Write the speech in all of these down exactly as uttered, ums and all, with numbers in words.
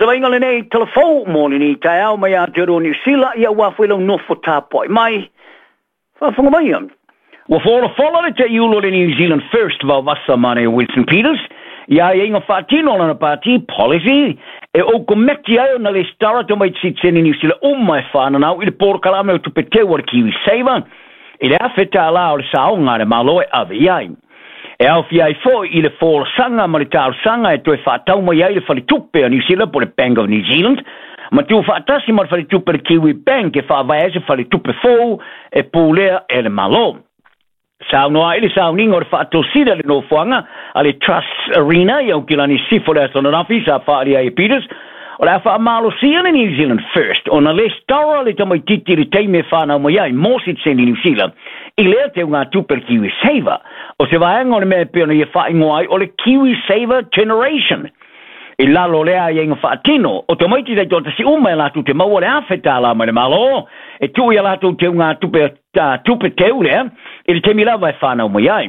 se vaaiga lenei talafou mo lenei taeao mai Aotearoa Niu Sila, ia ua foi lau nofo tapuai mai. Faafofoga maia. Ua folafola le taiulu o le New Zealand First Vaovasa Mane Winston Peters i aiaiga faatino a lana pati policy e ou kometi ai ona lesitala tamaiti sitiseni Niu Sila uma e fananau i le polokalame o tupe teu a le Kiwi Saver i le afe tālā o le saoga a le Malo e ave i ai. E aofia ai foi i le folasaga ma le talosaga e toe faatau mai ai le faletupe a Niu Sila po le Bank of New Zealand ma tuufaatasi ma le faletupe le Kiwi Bank e faavae ai se faletupe fou e pulea e le Malo. Saunoa ai le sauniga o le faatosina le nofoaga a le Trusts Arena i Aukilani Sisifo le aso ananafi sa faaalia ai e Peters o le a faamalosia le New Zealand First ona lesitala le tamaititi i le taimi e fanau mai ai mo sitiseni Niu Sila i lea teugatupe le Kiwi Saver o se vaega o le mea e pei ona ia faaigoa ai o le Kiwi Saver Generation. I lalo o lea aiaiga faatino, o tamaiti taitoatasi uma e latou te maua le afe tālā mai le Malo e tuu i a latou teugatupe tupe teu lea i le taimi lava e fanau mai ai.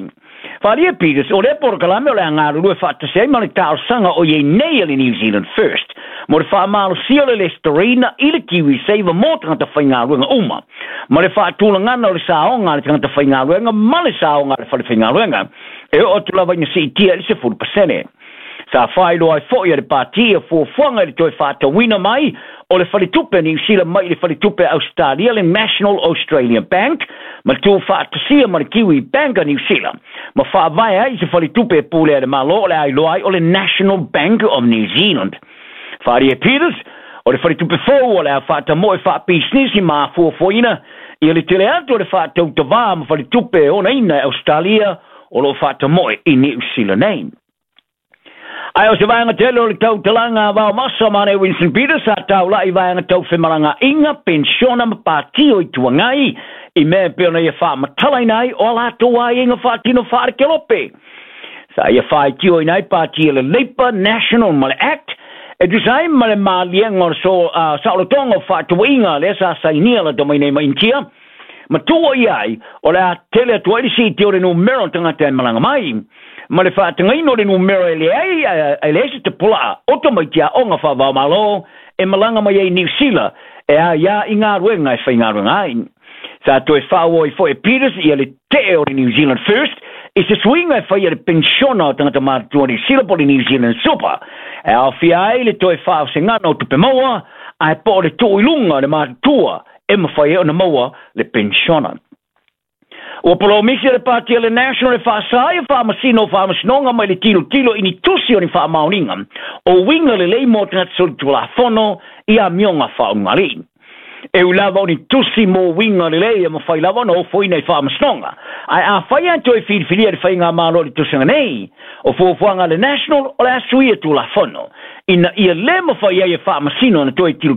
Faaalia Peters, o lea polokalame o le a galulue faatasi ai ma le talosaga o i ai nei a le New Zealand First mo le faamalosia o le lesitalaina i le Kiwi Saver mo tagata faigaluega uma ma le faatulagana o le saoga a le tagata faigaluega ma le saoga a le fale faigaluega e oo atu lava ina siitia i le sefulu pasene. Sa faailoa ai foi e le pati ia fuafuaga i le toe faatauina mai o le faletupe a Niu Sila mai i le faletupe a Ausetalia le National Australia Bank ma le tuufaatasia ma le Kiwi Bank a Niu Sila ma faavae ai se faletupe e pulea e le Malo o le a iloa ai o le National Bank of New Zealand. Faaalia Peters, o le faletupe fou o le a faatamoe faapisinisi ma afuafuaina ia le tele atu o le faatautavā ma faletupe e onaina e Ausetalia o loo faatamoe i Niu Sila nei. Ae o se vaega tele o le tautalaga a Vaomasa ma le Winston Peters sa taulai i vaega tau femalagaaiga, penisiona ma pati o Itu Agai i mea e pei ona ia faamatalaina ai o a latou aiaiga faatino faalekelope. Sa ia faitioina ai pati a le Labour, National ma le Act e tusa ai ma le maliega o le so, uh, saolotoga o faatauaiga lea sa sainia lata mai nei ma Initia ma tua i ai o le a tele atu ai le siitia o le numera o tagata e malaga mai ma le faatagaina o le numera e leai e leai se tapulaa o tamaiti aoga faavaomalo e malaga mai ai Niu Sila e aiā i galuega e faigaluega ai. Sa toe faaauau ai foi e Peters ia le tee o le New Zealand First i se suiga e faia le penisiona o tagata matutua Niu Sila po o le New Zealand Super e aofia ai le toe faaosegana o tupe maua ae po o le tuu i luga o le matutua e mafai ai ona maua le penisiona. Ua polomisi le pati a le National e faasā ia faamasino o faamasinoga mai le tilotilo i ni tusi o ni faamaoniga o uiga lelei mo tagata solitulafono i amioga faaulugalii. E ui lava o ni tusi mo uiga lelei e mafai lava ona ofoina i faamasinoga, ae afai lava toe filifilia le faigamalo i le tausaga nei, o fuafuaga a le National o le a suia Tulafono ina ia le mafai ai e faamasino ona toe tilotilo